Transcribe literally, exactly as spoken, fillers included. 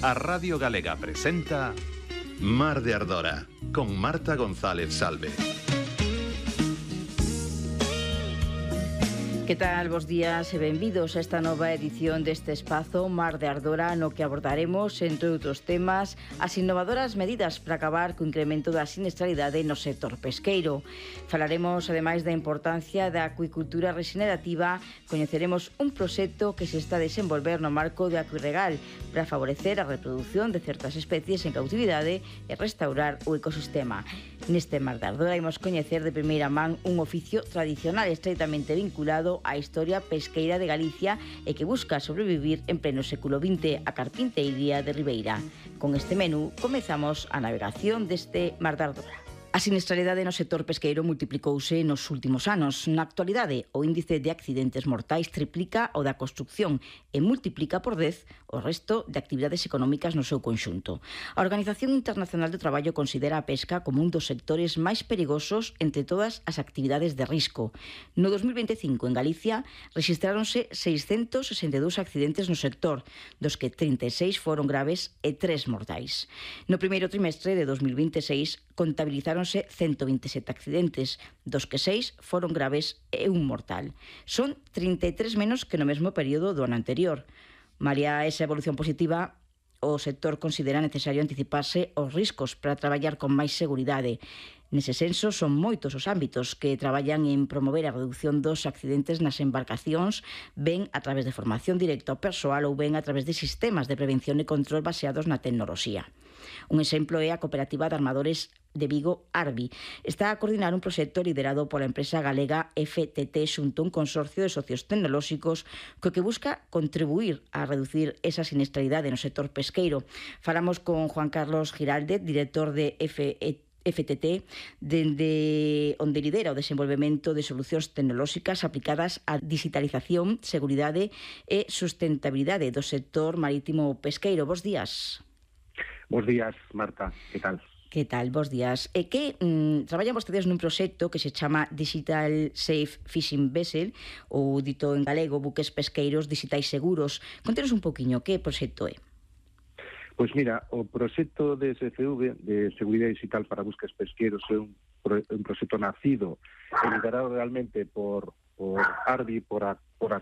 A Radio Galega presenta Mar de Ardora, con Marta González Salve. Que tal, bos días e benvidos a esta nova edición deste espazo Mar de Ardora, no que abordaremos, entre outros temas, as innovadoras medidas para acabar co incremento da siniestralidade no sector pesqueiro. Falaremos, ademais, da importancia da acuicultura regenerativa, coñeceremos un proxecto que se está a desenvolver no marco de Acuirregal para favorecer a reproducción de certas especies en cautividade e restaurar o ecosistema. Neste Mar de Ardora imos coñecer de primeira man un oficio tradicional estreitamente vinculado á historia pesqueira de Galicia e que busca sobrevivir en pleno século vinte, a carpinteiría de Ribeira. Con este menú comezamos a navegación deste Mar de Ardora. A siniestralidade no sector pesqueiro multiplicouse nos últimos anos. Na actualidade, o índice de accidentes mortais triplica o da construcción e multiplica por dez o resto de actividades económicas no seu conxunto. A Organización Internacional do Traballo considera a pesca como un dos sectores máis perigosos entre todas as actividades de risco. No dos mil veinticinco, en Galicia, rexistráronse seiscentos sesenta e dous accidentes no sector, dos que trinta e seis foron graves e tres mortais. No primeiro trimestre de dos mil veintiséis, contabilizaronse ciento veinte e sete accidentes, dos que seis foron graves e un mortal. Son trinta e tres menos que no mesmo período do ano anterior. Malia esa evolución positiva, o sector considera necesario anticiparse aos riscos para traballar con máis seguridade. Nese senso, son moitos os ámbitos que traballan en promover a reducción dos accidentes nas embarcacións, ben a través de formación directa ao persoal ou ben a través de sistemas de prevención e control baseados na tecnoloxía. Un exemplo é a Cooperativa de Armadores de Vigo, Arbi. Está a coordinar un proxecto liderado pola empresa galega F T T xunto a un consorcio de socios tecnolóxicos co que busca contribuir a reducir esa siniestralidade no sector pesqueiro. Falamos con Juan Carlos Giraldez, director de F T T, dende onde lidera o desenvolvemento de solucións tecnolóxicas aplicadas á digitalización, seguridade e sustentabilidade do sector marítimo pesqueiro. Bos días. Bos días, Marta. Que tal? Que tal? Bos días. E que mm, traballan vostedes nun proxecto que se chama Digital Safe Fishing Vessel, ou dito en galego, buques pesqueiros digitais seguros. Contenos un poquinho, que proxecto é? Pois mira, o proxecto de S F V, de Seguridade Digital para Buques Pesqueiros, é un, pro, un proxecto nacido e liderado realmente por, por Arbi, por, a, por